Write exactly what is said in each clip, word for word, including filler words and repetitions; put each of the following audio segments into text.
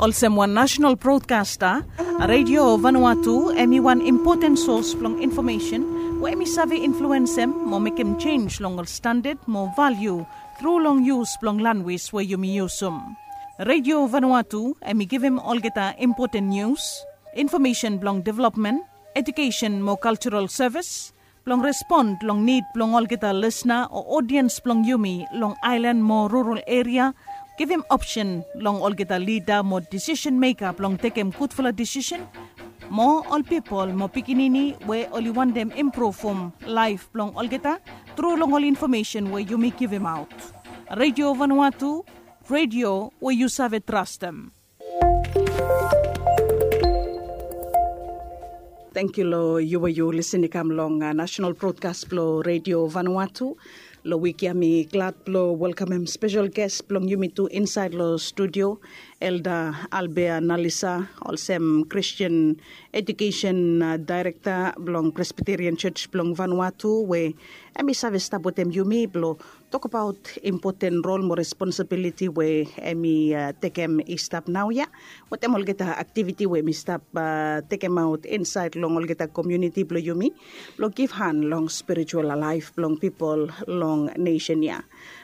Olsem wan nasenal brodkasta, Radio Vanuatu hem i wan impoten sos blong infomesen we hem i save influensem mo mekem jenj long ol standad mo valiu tru long yus blong lanwis we yumi yusum. Radio Vanuatu hem i givim olgeta impoten nius, infomesen blong developmen, ejukesen mo kaljaral sevis, blong respon long nid blong olgeta lisna o odiens blong yumi long aelan mo rural eria, givim opsen long olgeta lida mo disisen meka blong tekem gudfala disisen, mo ol pipol mo pikinini we oli wantem impruvum laef blong olgeta tru long ol infomesen we yumi givimaot. Radio Vanuatu, radio we yu save trastem. Tangkiu long yu we yu lisin i kam long nasenal brodkas blong Radio Vanuatu. Long wik ya mi glad blong welkamem spesel ges blong yumi tu insaed long studio, Elda Albea Nalisa, olsem Kristin Ejukesen Daerekta blong Presbiterian Jos blong Vanuatu, we hem i save stap wetem yumi blong tokbaot impoten rol mo responsibiliti we hem i tekem i stap naoia, wetem olgeta aktiviti we hem i stap tekemaot insaed long olgeta komuniti blong yumi blong givhan long spiritual laef blong pipol long nesen ya.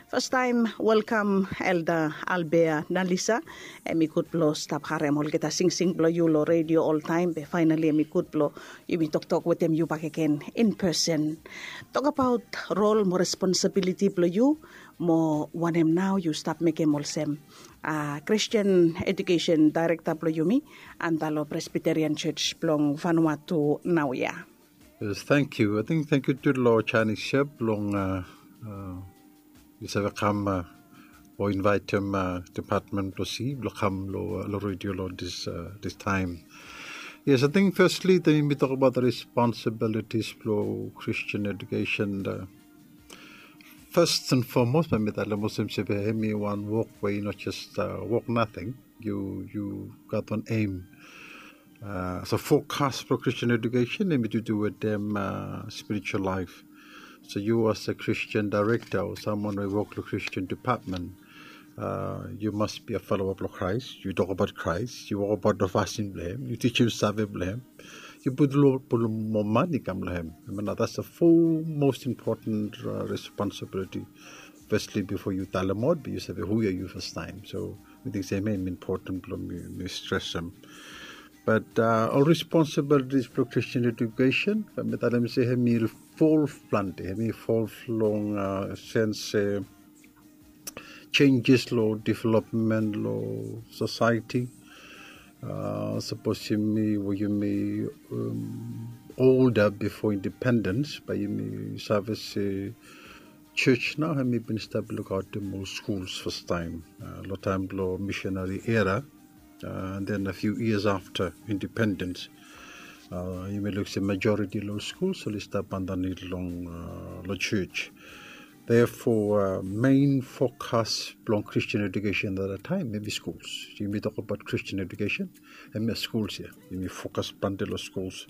Fastaem welkam Elda Albea Nalisa. Hem i gud blong stap harem olgeta singsing blong yu long redio oltaem, be faenali hem i gud blong yumi toktok wetem yu bakegen in pesen. Tokbaot rol mo responsibiliti blong yu, mo wanem nao yu stap mekem olsem Kristin Ejukesen Daerekta blong yumi anda long Presbiterian Jos blong Vanuatu naoia. Yes, tangkiu. Ating tangkiu tu long Chinese Chef blong yu save kam o invaetem depatmen blong si blong kam long redio long dis taem. Yes, ating fesli taem yumi tokbaot responsibilitis blong Kristin ejukesen, fes an fomos bae mi talem olsem se bae hem i wan wok we i no jes wok nating. Yu gat wan em. So fokas blong Kristin ejukesen hem i tutu wetem spiritual laef. So yu as a Kristin daerekta o samwan we i wok long Kristin depatmen, yu mas bi a foloa blong Kraes. Yu tokbaot Kraes, yu wokbaot long fasin blong hem, yu tijim save blong hem, yu putum moa mane i kam long hem. Hem nao that's the fo most important responsibiliti. Fesli bifo yu talemaot bae yu save hu ya yu fastaem. So mi ting se hem ya hem impoten blong mi stresem. Bat ol responsibilitis blong Kristin ejukesen, bae mi talem se hem i fol plante, hem i fol long sens se jenjes long developmen long sosaeti. Sapos yumi we yumi olda bifo independens bae yumi save se jos nao hem i bin stap lukaotem ol skuls fastaem long taem blong misinari era. And then a few years after independens, yumi luk se majoriti long skuls oli stap andanit long jos. Therefore mein fokas blong Kristin ejukesen at that taem hem i skuls. Yumi tokbaot Kristin ejukesen, hem ya skuls ya. Yumi fokas plante long skuls.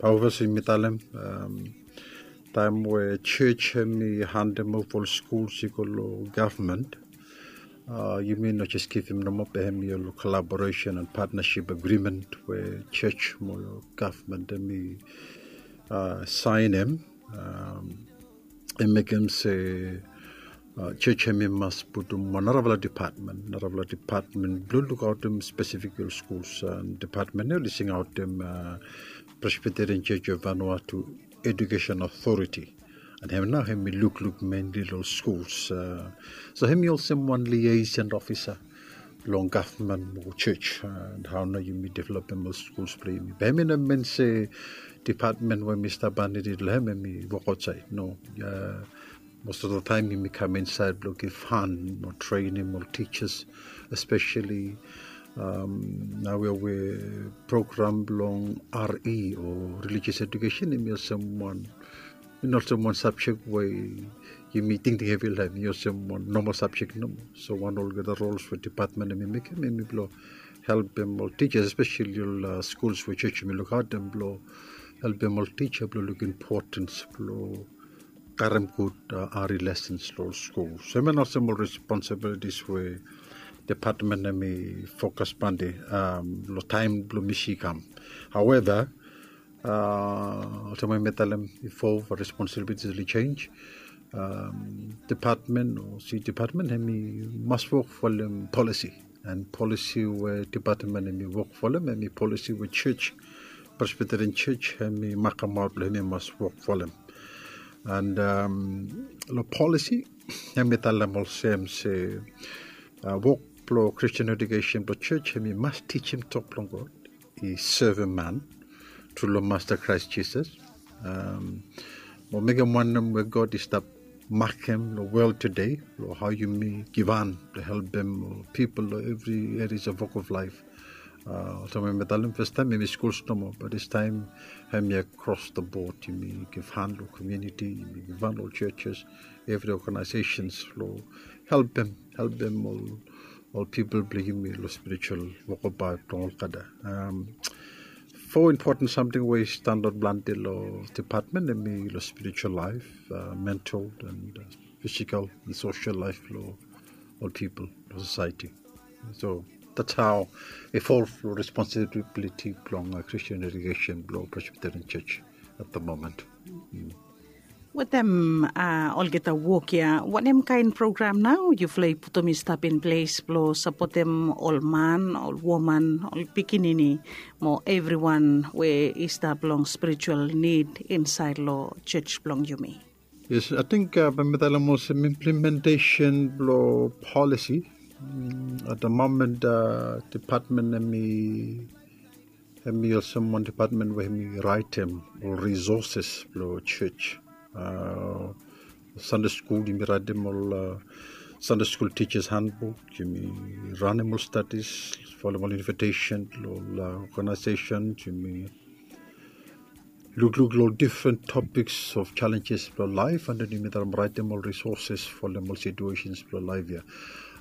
Bae olsem mi talem, taem we jos hem i handem ova ol skuls i go long gavman, yumi no jes givim nomo, be hem i ol kolaboresen and patnasip agrimen we jos mo gavman hem i saenem. Hem mekem se jos hem i mas putum wan narafala depatmen, narafala depatmen blong lukaotem spesifik ol skuls. Depatmen ya oli singaotem Presbiterian Jos of Vanuatu Ejukesen Otoriti. And hem nao hem i lukluk menli long ol skuls. So hem i olsem wan liason ofisa long gavman mo jos, and hao nao yumi developem ol skuls blong yumi. Be hem i no min se depatmen we mi stap andanit long hem hem i wok aotsaed. No. Most of the taem yumi kam insaed blong givhan mo trenem ol tijas, espeseli naoia we program blong R E o relijios ejukesen hem i olsem wan, i no olsem wan sabjek we yumi tingting hevi long hem, i olsem wan nomal sabjek nomo. So wan olgeta rols we depatmen hem i mekem hem i blong helpem ol tijas, espeseli ol skuls we jos hem i lukaotem blong helpem ol tija blong luk impotens blong karem gud R E lesens long ol skul. So hem ya nao olsem ol responsibilitis we department hemi fokas plante, um, long taem blong misi i kam. However, uh, olsem we mi talem bifo, responsibilities oli jenis. Um, department o si department hemi mas wok folem policy. And policy we department hemi wok folem hemi policy we church, Presbyterian Church hemi makamaot blong hemi mas wok folem. And, um, long policy hemi talem olsem se, uh, wok blong Christian education blong church hemi mas tijim tok blong God, i sevem man tru long Masta Kraes Jisas. Um, mo mekem wanem we God i stap makem long wol tede, long hao yumi givhan blong helpem ol pipol long evri areas of walk of life. Uh, olsem we mi talem fastaem, hemi skuls nomo, but distaem hemi across the board, yumi givhan long community, yumi givhan long churches, evri organizations long helpem, helpem ol, ol pipol blong yumi long spiritual wokabaot blong olgeta. Um, fo impoten samting we i standaot plante long department, hemi long spiritual life, uh, mental and, uh, physical and social life blong ol pipol long society. So that's how i fol long responsibility blong, uh, Christian education blong Presbyterian Church at the moment. Mm. Wetem, uh, olgeta wok ya, wanem kaen program nao yufala i putum i stap in ples blong sapotem ol man, ol woman, ol pikinini, mo evriwan we i stap long spiritual nid insaed long church blong yumi? Yes, ating, uh, bae mi talem olsem implementation blong policy. Mm, at the moment, uh, department hemi, hemi olsem wan department we hemi raetem ol resources blong church. Uh, Sunday school, yumi raetem ol, uh, Sunday school teachers handbook, yumi ranem ol studies, folem ol invitation long ol, uh, organization, yumi lukluk long difren topiks of challenges blong laef, and then yumi traem raetem ol resources folem ol situations blong laef ya.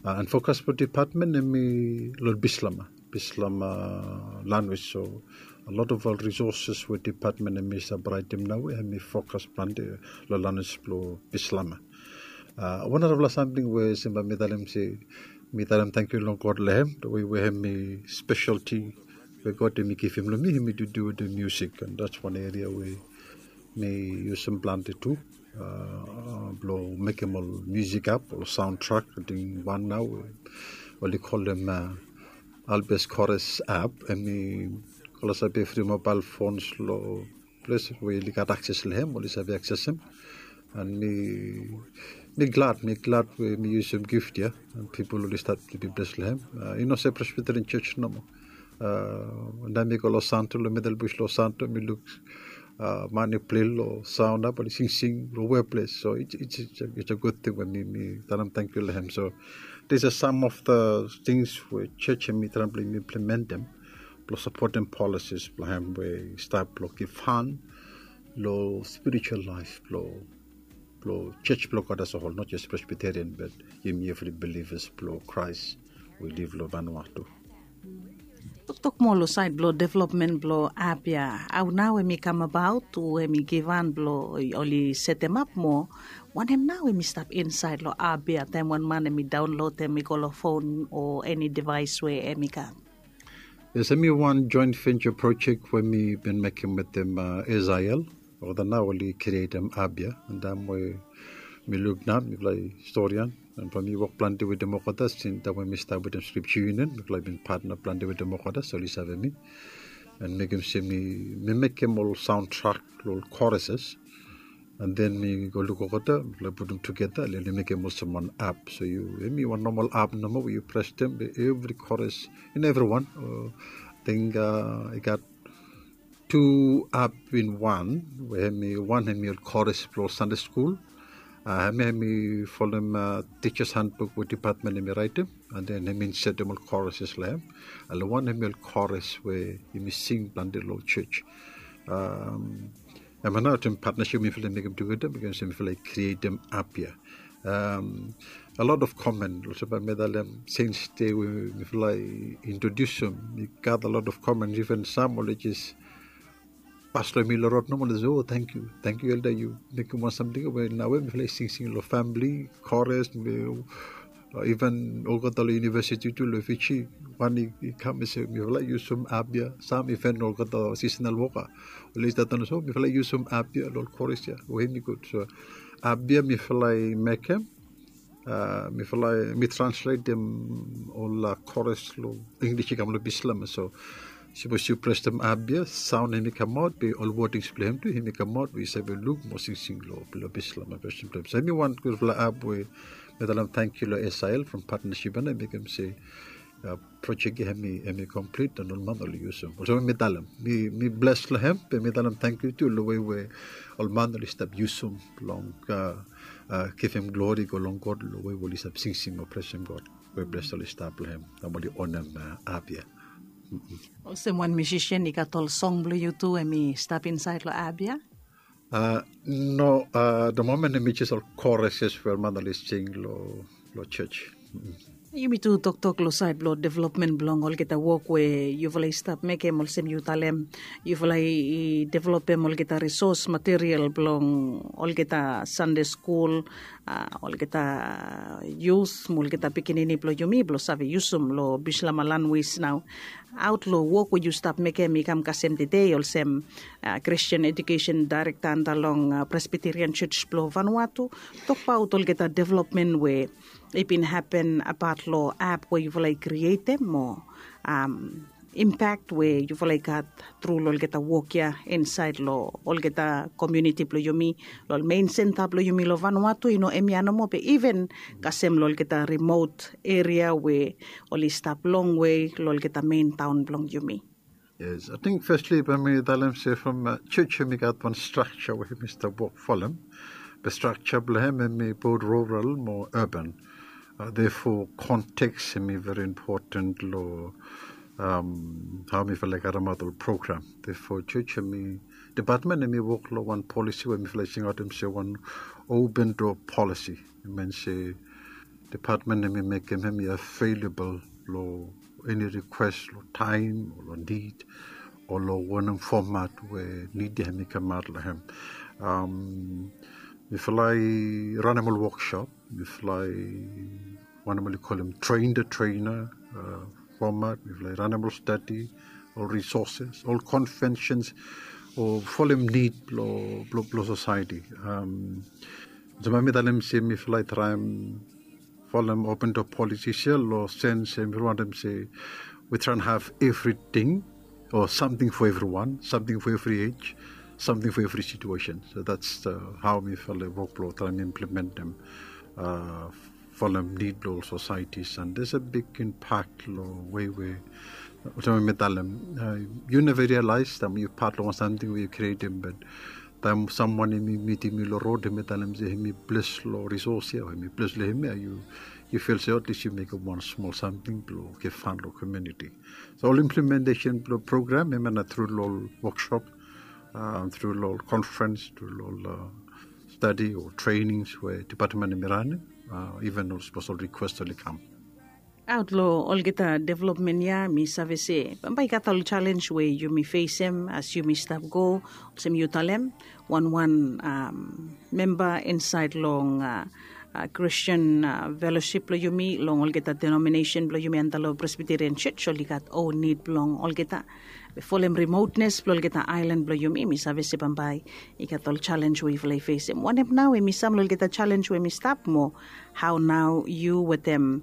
Uh, and fokas blong department hemi long Bislama, Bislama lanwis. So a lot of ol resources we department hemi save raetem naoia hemi fokas plante long lanwis blong Bislama. Uh, wan narafala samting we olsem bae mi talem se mi talem tangkiu long God long hem, the way we hemi specialty we God hemi givim long mi, hemi to do with the music, and that's one area we mi yusum plante tu, uh, blong mekem ol music app, ol soundtrack. Ating wan nao oli kolem, uh, Albes Chorus app, hemi, olgeta sabe evri mobile phones long ples we oli gat akses long hem, oli save aksesem. And mi, mi glad, mi glad we mi yusum gift ya, and pipol oli stat blong be bles long hem. Uh, i no se Presbyterian Church nomo. Uh, taem mi go long Santo, long Middle Bush long Santo, mi luk, uh, man i plei long sound app, oli singsing long we ples. So it's, it's, it's a, it's a good thing we mi, mi talem tangkiu long hem. So these are some of the things we church hemi traem blong implementem blong sapotem policies blong hem we i stap blong givhan long spiritual laef blong, blong church blong God as a whole, not just Presbyterian, but yumi evri believers blong Christ we liv long Vanuatu. Toktok moa long saed blong developmen blong app ya. Hao nao hemi kamabaot, hu hemi givhan blong oli setemap, mo wanem nao hemi stap insaed long app ya taem wan man hemi daonlodem i go long fon o eni devaes we hemi gat? Yes, hemi wan joint venture project we mi bin mekem wetem, uh, S I L. Olgeta nao oli krietem app ya, and taem we mi luk nao, mifala i historian, and from mi wok plante wetem olgeta since taem we mi stap wetem Scripture Union, mifala i bin patna plante wetem olgeta, so oli save mi. And mekem se mi, mi mekem ol soundtrack long ol choruses. And then mi go luk olgeta, mifala i putum tugeta, oli mekem olsem wan app. So yu, hemi wan normal app nomo we yu presem, evri chorus, and evriwan. Uh, ating, uh, i gat tu app in wan, we hemi, wan hemi ol chorus blong Sunday school. Uh, hemi, hemi folem, uh, teachers handbook we department hemi raetem, and then hemi insetem ol choruses long hem. And long wan hemi ol chorus we yumi sing plante long church. Um, hemia nao olsem partnership mifala i mekem tugeta, mekem se mifala i krietem app ya. Um, a lot of comment, olsem bae mi talem, since day we mifala i introdiusum, mi gat a lot of comment, even sam oli jes pas long mi long rod nomo, oli se, "Oh, tangkiu, tangkiu, Elder, yu mekem wan samting we naoia mifala i singsing long famili, chorus, mi Iven olgeta long univesiti tu long Fiji, wan i kam i se mifala i yusum app ia. Sam iven olgeta seasonal woka oli stap talem se mifala i yusum app ia long koris ia, we hemi gud. So app ia mifala i mekem, mifala i mi transletem ol koris long English i kam long Bislama. So sapos yu presem app ia, saon hemi kamaot be ol wordings blong hem tu hemi kamaot we yu save luk mo singsing long Bislama, presem blong hem. So hemi wan gudfala app we mi talem tangkiu long S I L from partnership ia, na mekem se projek ia hemi komplit, and ol man oli yusum. Olsem mi talem mi bles long hem, be mi talem tangkiu tu long wei we ol man oli stap yusum blong givim glori go long God long wei we oli stap singsing o presem God. We bles oli stap long hem, taem oli onem app ia. Olsem wan musician i gat ol song blong yu tu, hemi stap insaed long app ia? No, the moment hemi jes ol koris we ol man oli sing long long jos. Yumi tu toktok long saed blong developmen blong olgeta wok we yufala i stap mekem, olsem yu talem yufala i developem olgeta risos material blong olgeta Sande skul, olgeta yus mo olgeta pikinini blong yumi blong save yusum long Bislama lanwis nao. Aot long wok we yu stap mekem i kam kasem tede olsem Christian Education Director anda long Presbyterian Church blong Vanuatu, tokbaot olgeta developmen we i bin hapen apat long app we yufala i krietem mo impact we yufala i gat tru long olgeta wok ia insaed long olgeta komuniti blong yumi, long ol mein senta blong yumi long Vanuatu, i no hemia nomo be iven kasem long olgeta rimot eria we oli stap longwe long olgeta mein taon blong yumi. Yes, ating fesli bae mi talem se from jos hemi gat wan strakja we hemi stap wok folem. Be strakja blong hem hemi both rural mo urban. Therefore konteks hemi very important long hao mifala i karemaot ol program. Therefore jos hemi depatmen hemi wok long wan polisi we mifala i singaotem se wan open door policy. I min se depatmen hemi mekem hemi available long eni rikwes long taem o long nid o long wanem fomat we nid ia hemi kamaot long hem. Mifala i ranem ol woksop, mifala i wanem oli kolem train the trainer fomat, mifala i ranem ol stadi, ol risoses, ol konvensens o folem nid blong sosaeti. Olsem bae mi talem se mifala i traem folem open door policies ia long sens se mifala wantem se we traem have evriting o samting for evriwan, samting for evri ej, samting for evri situesen. So that's hao mifala i wok blong traem implementem folem nid blong ol sosaetis, and there's a big impact long wei we olsem we mi talem, yu neva rialaes taem yu pat long wan samting we yu krietem, be taem samwan hemi mitim yu long rod hemi talem se hemi bles long risos ia o hemi bles long hemia, yu fil se atlis yu mekem wan smol samting blong givhan long komuniti. So ol implementesen blong program hemia nao tru long ol woksop, tru long ol konferens, tru long ol stadi o trenings we depatmen hemi ranem, iven ol sapos ol rikwes oli kam. Aot long olgeta developmen ia mi save se bambae i gat ol jalenj we yumi fesem as yumi stap go, olsem yu talem, wanwan memba insaed long Christian felosip blong yumi long olgeta denominesen blong yumi anda long Presbyterian Jos oli gat own nid blong olgeta. Be folem rimotnes blong olgeta aelan blong yumi, mi save se bambae i gat ol jalenj we yufala i fesem. Wanem nao hemi sam long olgeta jalenj we hemi stap mo hao nao yu wetem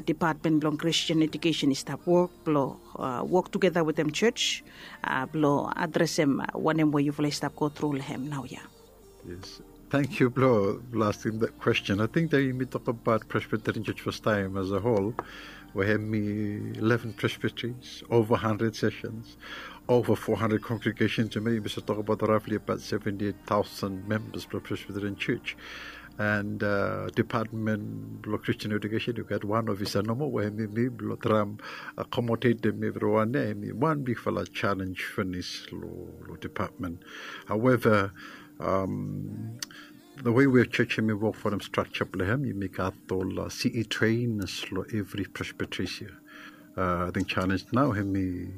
depatmen blong Christian Education i stap wok blong wok tugeta wetem jos blong adresem wanem we yufala i stap go tru long hem naoia? Yes. Tangkiu blong askem that question. Ating taem yumi tokbaot Presbyterian Jos fastaem as a whole, we hemi eleven presbyteries, ova handred sessions, ova four hundred congregations, yumi save tokbaot rafli abaot seventy eight taosen membas blong Presbyterian Jos. And depatmen blong Christian Education i gat wan ofisa nomo we hemi mi blong traem akomodetem evriwan ia. Hemi wan bigfala jalenj finis long depatmen. However, the way we jos hemi wok folem strakja blong hem, yumi gat ol C E trainees long evri presbyteries ia. Ating jalenj nao hemi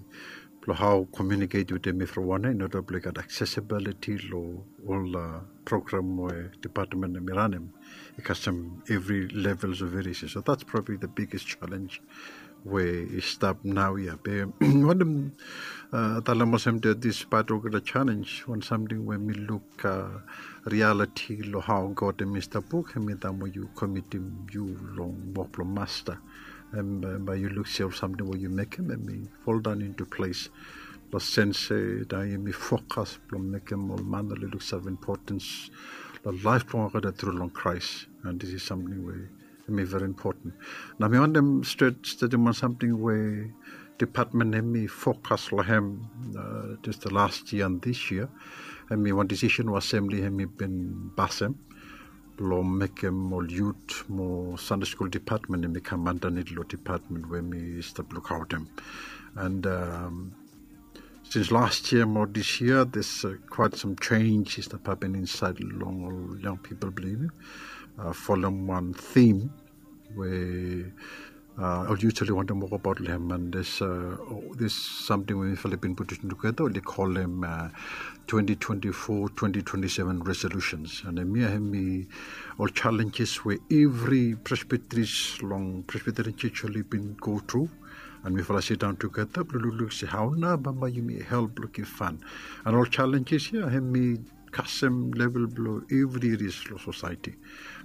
long hao komiuniket wetem evriwan ya in order blong i gat accessibility long ol program we dipatmen hemi ranem i kasem evri levels of variation. So that's probably the biggest challenge we i stap naoia. Be wantem talem olsem that despite olgeta challenge, wan samting we mi luk reality long hao God hemi stap wok, hemi taem we yu komitim yu long wok blong Masta. Bae yu luk se ol samting we yu mekem hemi fall down into place. Long sens se taem yumi fokas blong mekem ol man oli luksave importance long laef blong olgeta tru long Kraes. And this is samting we hemi very important. Nao mi wantem stret stetim wan samting we dipatmen hemi fokas long hem, just the last year and this year. Hemi wan decision we assembly hemi bin pasem blong mekem ol yut mo Sunday School dipatmen hemi kam andanit long dipatmen we mi stap lukaotem. And sins last year mo this year, there's quite some change i stap hapen insaed long ol yang pipol blong yumi. Folem wan theme we ol yut oli wantem wokbaot long hem, and there's samting we mifala i bin putum tugeta, oli kolem twenty twenty-four twenty twenty-seven resolutions. And hemia hemi ol challenges we evri presbyteries long Presbyterian Church oli bin go tru. And mifala sidaon tugeta blong lukluk se hao nao bambae yumi help blong givhan. And ol challenges ya hemi kasem level blong evri areas long society.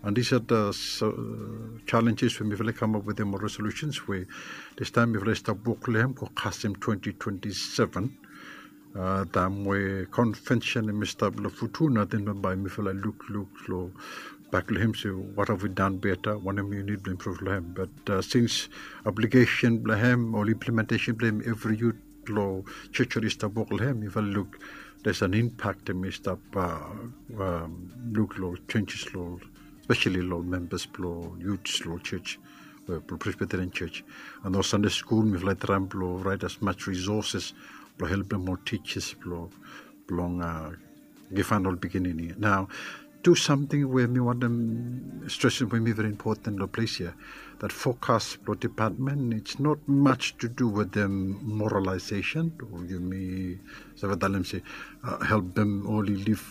And these are the challenges we mifala i kamap wetem ol resolutions we distaem mifala i stap wok long hem go kasem twenty twenty-seven. Taem we convention hemi stap long Futuna, then bambae mifala i lukluk long bak long hem se what have we done better, wanem yu nid blong improve long hem. But sins aplikesen blong hem o implementation blong hem evri yut long church oli stap wok long hem, mifala i luk there's an impact hemi stap luk long changes long, especially long members blong yut long church, blong Presbyterian Church. And ol Sunday School mifala i traem blong raet as much resources blong helpem ol teachers blong givhan ol pikinini. Nao tu samting we mi wantem stresem we hemi very important long ples ya, that fokas blong dipatmen, it's not much to do wetem moralization o yumi save talem se helpem oli liv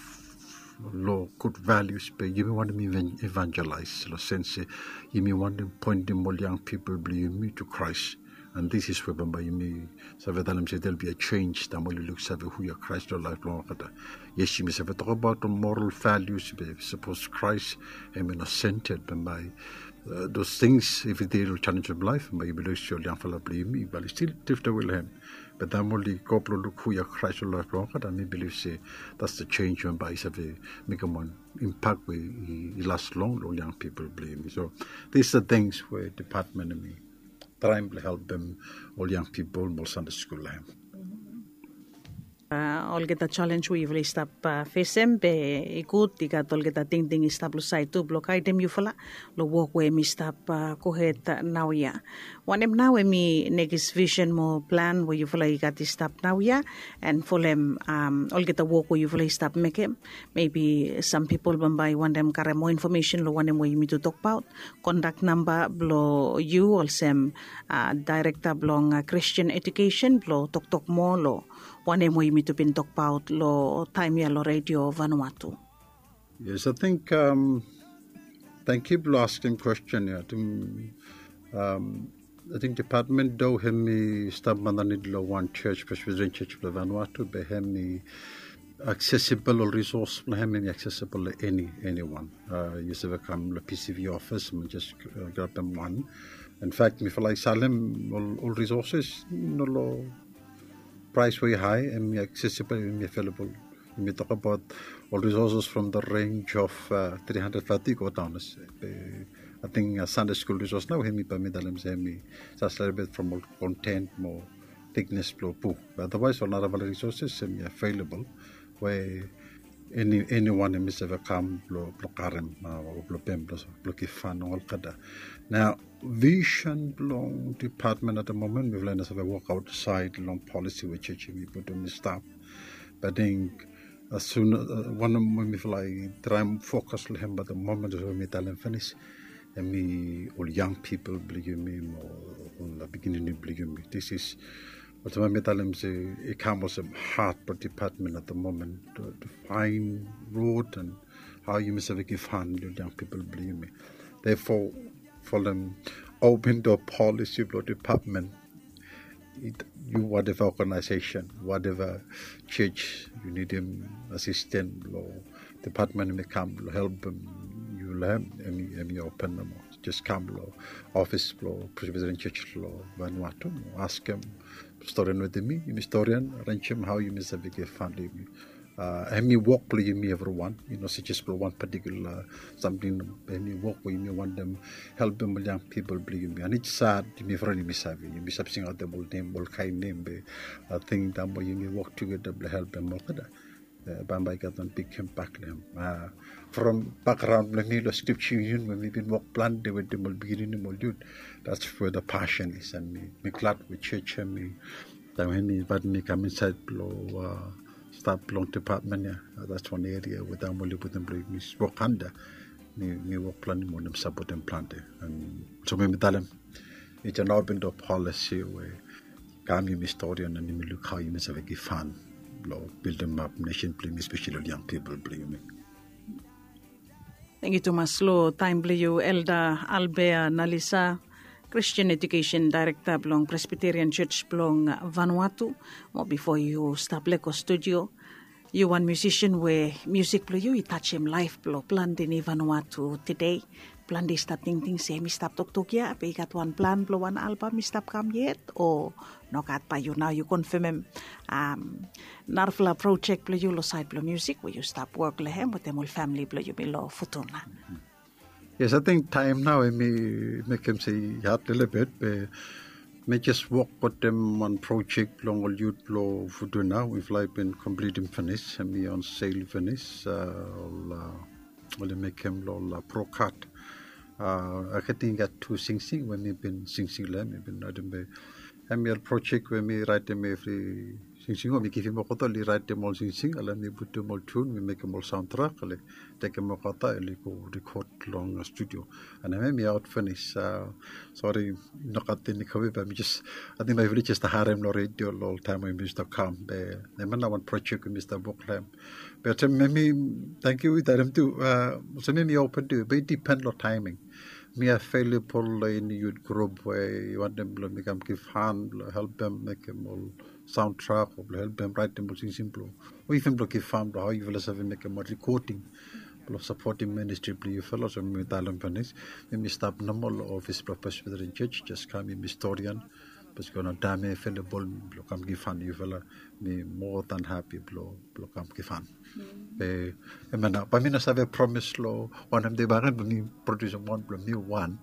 long gud values, be yumi wantem evangelize long sens se yumi wantem poentem ol yang pipol blong yumi to Kraes. And this is we bambae yumi save talem se there'll be a change taem oli luksave hu ya Kraes long laef blong olgeta. Yes, yumi save tokbaot ol moral values, be sapos Kraes hemi no centered, bambae those things, evri dei long challenge of life, bambae yumi luksave ol yangfala blong yumi bambae oli stil drifted away long hem. Be taem oli go blong luk hu ya Kraes long laef blong olgeta, mi bilif se that's the change bambae i save mekem wan impact we i las long long ol yang pipol blong yumi. So these are things we dipatmen hemi traem blong helpem ol yang pipol mo ol Sunday School long hem. Olgeta challenge we yufala i stap fesem, be i gud i gat olgeta tingting i stap long saed tu blong gaedem yufala long wok we hemi stap gohed naoia. Wanem nao hemi nekis visen mo plan we yufala i gat i stap naoia, and folem olgeta wok we yufala i stap mekem? Maybe sam pipol bambae i wantem karem moa infomesen long wanem we yumi tu tokbaot. Kontak namba blong yu olsem daerekta blong Christian Education blong toktok moa long wanem we yumi tu bin tokbaot long taem ya long Redio Vanuatu. Yes, ating tangkiu blong askem kwesten ya. Ating dipatmen do hemi stap andanit long wan church, Presbyterian Church blong Vanuatu, be hemi accessible, ol resource blong hem hemi accessible long eni, eniwan. Yu save kam long PCV office mo jes grabem wan. In fact mifala i salem ol resources, no long praes we i hae, hemi accessible, hemi available. Yumi tokbaot ol resources from the range of three hundred thirty go daon. Ating Sunday School resource nao hemi bae mi talem se hemi save stap from ol content mo thickness blong buk. Otherwise ol narafala resources hemi available we eniwan hemi save kam blong karem o blong pem blong givhan olgeta. Nao visen blong dipatmen at the moment, mifala i no save wok aotsaed long polisi we church hemi putum i stap. Be ating as soon wanem we mifala i traem fokas long hem at the moment, olsem we mi talem finis, hemi ol yang pipol blong yumi mo ol pikinini blong yumi. This is Olsem mi talem se i kam olsem hat blong dipatmen at the moment to, to find road and how yumi save givhan long yang pipol blong yumi. Therefore, folem open door policy blong dipatmen. Yu whatever organization, whatever church yu nidim asisten blong dipatmen mi kam blong helpem yu long hem, em i open nomo. Jes kam long ofis blong Presbyterian Church long Vanuatu, askem storian wetem mi, yumi storian, arenjem hao yumi save givhan long yumi. Em i wok blong yumi evriwan, i no se jes blong wan patikula samting. Em i wok we yumi wantem helpem ol yang pipol blong yumi. And it's sad, yumi evriwan yumi save, yumi save singaotem ol nem, ol kaen nem, be ating taem we yumi wok tugeta blong helpem olgeta, bambae i gat wan big imbak long hem. From background blong mi long Scripture Union we mi bin wok plante wetem ol pikinini mo ol yut, that's where the passion is. And mi, mi glad we church hemi, taem hemi invaet mi kam insaed blong stap long dipatmen ya. That's wan eria we taem oli putum blong mi wok anda, mi, mi wok plante mo oli sapotem plante. And so mi, mi talem, it's an open door policy we kam yumi storian and yumi luk hao yumi save givhan blong bildimap nesen blong yumi, especially ol yang pipol blong yumi. Tangkiu tumas long taem blong yu, Elda Albea Nalisa, Christian Education Director blong Presbyterian Church blong Vanuatu. Mo bifo yu stap lego studio, yu wan musician we musik blong yu i tajem laef blong plante ni Vanuatu tede. Plante i stap tingting se hemi stap toktok ya be i gat wan plan blong wan albam i stap kam yet, o nogat? Bae yu nao yu konfemem narafala projek blong yu long saed blong musik we yu stap wok long hem wetem ol famili blong yumi long Futuna. Yes, ating taem nao hemi mekem se i had lelebet, be mi jes wok wetem wan projek blong ol yut blong Futuna. Mifala i bin komplitim finis, hemi on sel finis, ol oli mekem long ol brokat. Ating i gat tu singsing we mi bin singsing long hem, mi bin raetem be hemi ol projek we mi raetem evri singsing, o mi givim olgeta oli raetem ol singsing, ale mi putum ol tun, mi mekem ol saontrak, ale tekem olgeta oli go rikod long studio. And hemi aot finis. Sori, nogat eni kove, be mi jes, ating maet oli jes stap harem long redio long ol taem we mi stap kam, be hemia nao wan projek we mi stap wok long hem. Be olsem hemi, tangkiu i talem tu, olsem hemi open tu, be i dipen long taeming. Mi avelebol long eni yut grup we i wantem blong mi kam givhan blong helpem mekem ol saontrak o blong helpem raetem ol singsing blong, o iven blong givhan blong hao yufala save mekem ol rikoding blong sapotem ministri blong yufala. So mi talem finis, mi stap nomo long ofis blong Presbyterian Church, jes kam, mi storian, bikos i gat wan taem avelebol blong kam givhan long yufala, mi moa dan hapi blong kam givhan. Be hemia nao, bae mi no save promis long wanem dei bakegen blong mi produsim wan blong mi wan.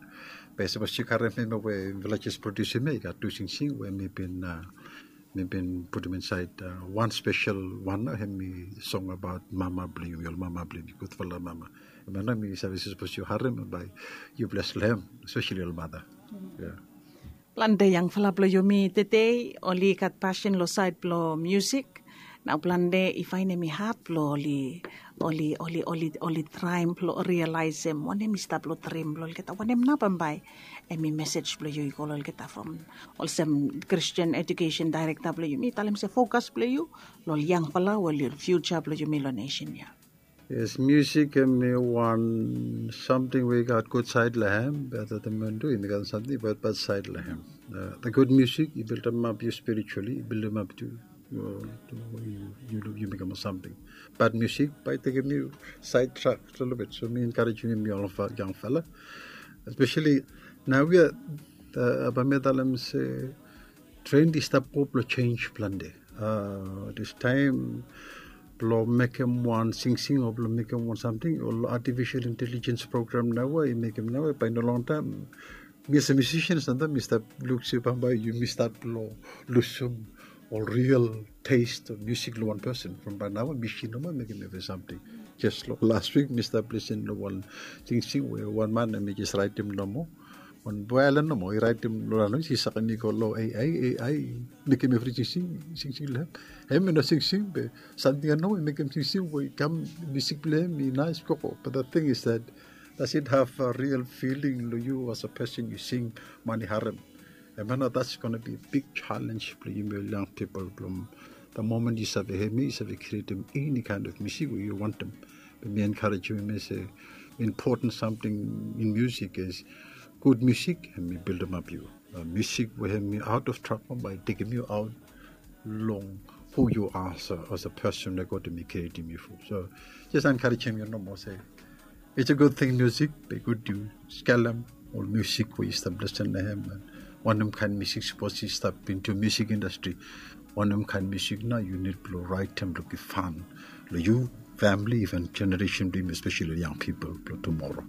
Be sapos yu karem hemia we mifala jes produsim ya, i gat tu singsing we mi bin, mi bin putum insaed wan spesel wan, hemi song abaot mama blong yumi, ol mama blong yumi, gudfala mama. Hemia nao mi save se sapos yu harem bae yu bles long hem, espeseli ol mata. Plante yangfala blong yumi tede oli gat pasin long saed blong musik. Nao plante i faenem i had blong oli, oli, oli, oli, oli traem blong rialaesem wanem i stap long drim blong olgeta. Wanem nao bambae hemi mesej blong yu i go long olgeta from olsem Christian Education Director blong yumi, talem se fokas blong yu long ol yangfala o long fiuja blong yumi long nesen ya? Yes, musik hemi wan samting we i gat gud saed long hem, be at the same time tu hemi gat samting badbad saed long hem. The good music i bildimap yu spiritually, i bildimap tu yu, yu mekem ol samting. Bad musik bae i tekem yu saedtrak lelebet. So mi enkarejim yumi ol yangfala, espeseli naoia, bae mi talem se trend i stap go blong jenis plante. Distaem blong mekem wan singsing o blong mekem wan samting, ol artificial intelligence program naoia i mekem naoia, bae i no longtaem mi olsem musician samtaem mi stap luk se bambae yumi stat blong lusum ol real taste of music long wan person. From bae naoia misin nomo i mekem evri samting. Jes long las wik mi stap lisin long wan singsing we wan man hemi jes raetem nomo, wan voaelen nomo i raetem long laen, i sakem i go long A I, A I i mekem evri singsing, singsing long hem. Hem i no singsing be samting ia nomo i mekem singsing we i kam, musik blong hem i naes gogo. But the thing is that, does it have a real feeling long yu as a person yu sing, man i harem? Em ya nao that's gonna be big challenge blong yumi ol yang pipol blong the moment yu save hem ya yu save krietem eni kaen of musik we yu wantem. Be mi enkarejim yumi se important samting in musik is gud musik hem i bildimap yu. Musik we hem i aut of trabol bae i tekem yu aut long hu yu are as a person we God hem i krietem yu fo. So jes enkarejim yu nomo se it's a good thing musik be gud yu skelem ol musik we yu stap lesen long hem. Wanem kaen musik sapos yu stap into musik indastri? Wanem kaen musik nao yu nid blong raetem blong givhan long yu famili even jeneresen blong yumi espeseli long yang pipol blong tumora?